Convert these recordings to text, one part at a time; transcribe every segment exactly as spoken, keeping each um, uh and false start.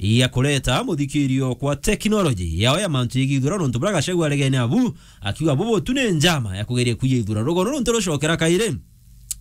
ya kureta muthikirio kwa teknoloji yao ya mantu yegithura nontu bura Gachagua aregene abu, akiuga bubu tu ni njama ya kugeria kuiya ithura. Rugono runtu rucokera kairi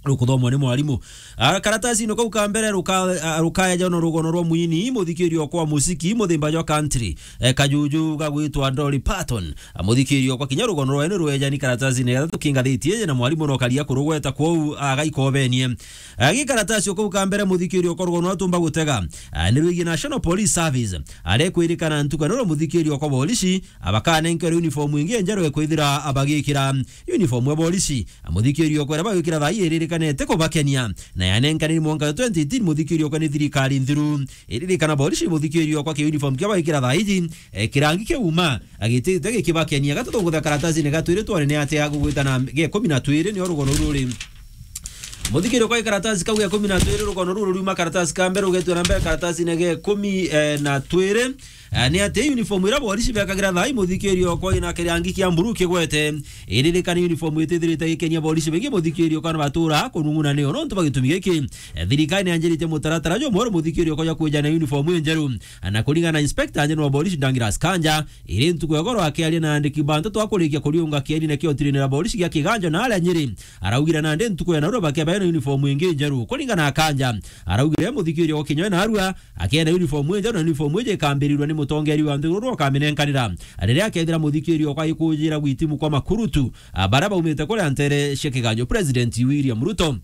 rukuthomwa ni mwarimu. Ah, karatasi ino kau ka mbere ruka-, ah, rukaeja no rugono rwa mwini muthikirio kwa musiki muthimba jwa country, eh, kajuju gagwitwa Dolly Parton. Ah, muthikirio kwa kinya rugono rwa ni rweja ni karatasi ni gatatu kingathiti eje na mwarimu no karia kurugweta kwou agaikobenie. Ah, gi karatasi o kau ka mbere muthikirio kwa rugono atumba gutega. Ah, ni rwigi National Police Service. Arekwirikana ntuku ya noro muthikirio kwa polisi, abakanenkerwe uniform ingi njeru ekwithira abagikira uniform ya polisi. Muthikirio kwera bagwikira thaa ii iririkanete kubakenia, na yanenkaniri mwanka twenty eighteen muthikirio kwa ni thirikari nthiru. Iririkana polisi muthikirio kwa ki uniform kia bagwikira thaa iji, eh, kirangi kiuma, agitite gikibakenia. Gatuthongutha karatasi ni gatwiri twone ni atia gugwita na ge kumi na twiri ni rugono ruri. Muthikirio kwa karatasi kau ge kumi na twiri rugono ruru ruma karatasi ka mbere ugetwe na mbere karatasi ni ge kumi, eh, na twiri. Eh, ni ati uniform ira polisi bekagira thaa ii muthikirio kwa ina kirangi kia mburu kigwete. Iririkani uniform itithirite gikenia polisi bengi muthikirio kana batura kunung'una nio nontu ba gitumi giki. Eh, thirikari ni anjirite mutaratara jwa mweru muthikirio kwa ja kujana uniform injeru. Na kuringana na inspector anjeno wa polisi Douglas Kanja, iri ntuku ya goro akiaria na andiki bantu twakurikia kuriunga kieni na kiotirine na polisi gia Kiganjo na aria Nyeri. Araugire nandi ntuku ya narua bakiabea na uniform ingi njeru. Kuringana na Kanja, araugire muthikirio kwa kinya narua akienda uniform injeru na uniform iji ikambirirwa ni mutongeria wa nthiguru ukaminenkanira. Riria akethira muthikirio kwa ikujira gwitimu kwa makurutu, ah, baria baumite kuria ntere cia Kiganjo, President William Ruto.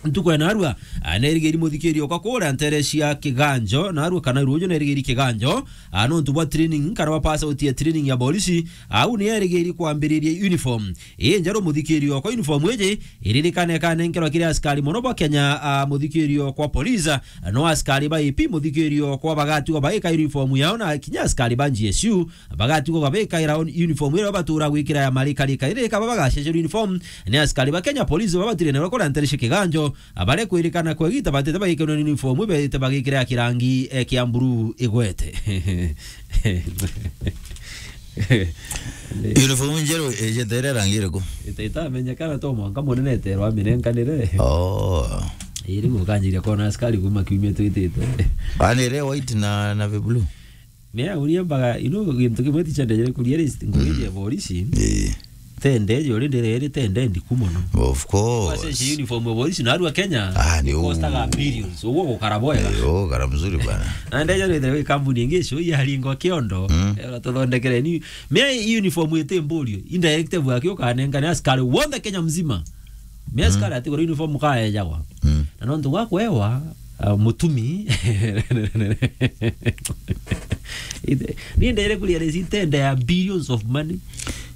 Ntuku ya narua, ah, nerigiri muthikirio kwa kuria ntere cia Kiganjo, narua kana ruju nerigiri Kiganjo, ah, nontu bwa training, kana bwa pass out ya training ya polisi, au ni erigiri kwambiriria uniform. Ii njeru muthikirio kwa uniform iji, iririkane kanenkerwa kiri askari mono bwa Kenya, ah, muthikirio kwa police, ah, no askari ba A P muthikirio kwa bagatigwa baika uniform yao na kinya askari ba G S U, bagatigwa babikaira uniform iria batura gwikira ya marika rika. Iri kaba bagacecerwa uniform ni askari ba Kenya Police babatire na bakora ntere cia Kiganjo, abare kwirikana kwa gita batete bagikira uniform ibete bagikira ya kirangi, eh, kia mburu igwete. Uniform njeru ijete ire rangi iriku? Ita-, itamenyekana to mwanka munene eterwa aminenkanire. Oh. Iri gukanjiria kona askari kuma kiumia twitite. Ani ire white na, na blue? Mea uria mbaga, you know, gintu kimwe ticha ndejere kuria list, ngurije, mm, polisi. Eh. Tende, yo rindi riri tende ndiku mono. Of course. Wase uniform ya polisi na arua Kenya. Ah, ni u- costaga billions. Uguo gukara bwega. Eh, oh, gukara mzuri bwana. Na ndeja rindi wi kambuni ingi icio ya ringo kiondo. Mm. Eh, tuthondekere ni. Mea uniform ite mburio. Indirective yake ukanenga ni askari wonthe Kenya mzima. Mea, mm, askari atigura uniform kaejagwa. Mm. Na nontu gwa kwewa, ah, mutumi. Ite-, ni ndere kuria resi tenda ya billions of money.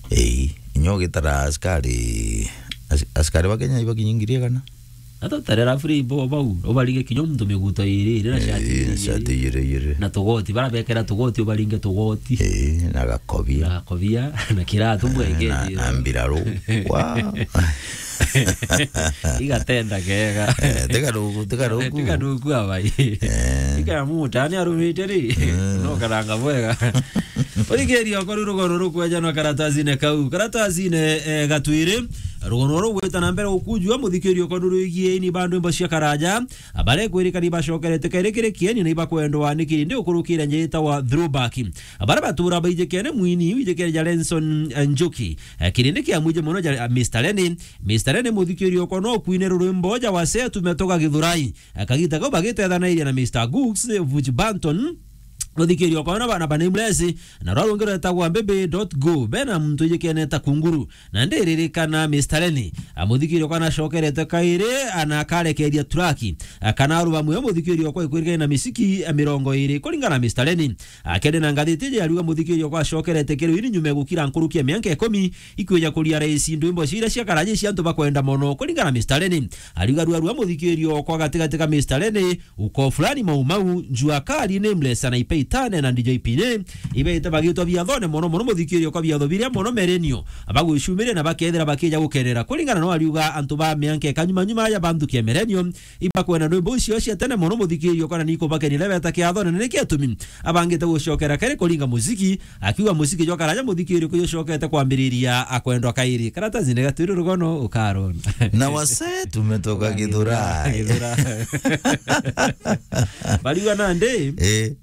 Ei, inyo gitara askari, as-, askari ba Kenya ibakinyi ngiri igana? Ata tarera free bo bau, ubaringe kinyo muntu miguto iri, iri na shati, eh, iri, shati iri, iri, iri. Na tugoti, bara bekera tugoti, ubaringe tugoti. Eh, na gakobia. Na gakobia, na kiratu, eh, mwenge, na, na mbiraru. Wow. Igatenda kega. Eh, tiga rugu, tiga rugu. Tiga rugu abai. Eh. Tiga muta, ni arumite ri. Mm. No karanga bwega. Uthikiria okoru rugono rukweja na karatasine kau. Karatasine, eh, gatwiri. Rugono rugwita na mbere gukujua muthikiria okoru rwigie ni bandu imbo cia karaja. Abare kwirikani bacokerete kere kiri kieni na ibakwendwa ni kirindi ukurukira njita wa throwback. Abara batura baijikene mwini, wijikene ja Lenson, eh, Njuki. Eh, kirindi kia mwije mono ja, eh, Mister Lenny. Mister Lenny muthikiria okwa no kwine rurwimbo ja wase tumetoka Githurai. Eh, kagita kau bagitethanairia na Mister Gooks, eh, Vuj Banton. Muthikiria okwa na bana ba Nameless, na rwa rwonge rwetagwa baby dot go. Bena muntu ijikene ta kunguru. Na ndiririkana Mister Lenny, a, muthikiria okwa nacokerete kairi, ana akarekeria turaki. A, kana arubamu ya muthikiria okwa ikwirikene na misiki, a, mirongo iri. Kuringana na Mister Lenny, a, kende na ngathiti iji ariuga muthikiria okwa acokerete kiri ini nyuma ya gukira nkuruki ya mianka ikumi, ikwija kuria raisi ndwimbo ciria cia karaji cia antu bakwenda mono. Kuringana na Mister Lenny, ariuga rua rua muthikiria okwa gatigati ka Mister Lenny, uko fulani Mau Mau, Jua Kali, Nameless na Ipeitane na D J Pine, ibeete bagitwa biathone mono mono muthikiria okwa biatho biria mono merenio, bagwicumiria na bakethira bakija gukenera. Kuringana no ariuga antu ba mianka ikanyuma nyuma ya banthukia merenio, ibakwenda ndwimbo icio cia tene mono muthikiria okwa na nikubakenire beta kiathone na niki atumi abangite gucokera kere kuringa muziki, akiuga muziki jwa karaja muthikiria okwa jucokete kwambiriria akwendwa kairi. Karatasi ni gatwiri rugono ukarona. Na wase tumetoka Githurai. Githurai. Bariuga nandi, eh,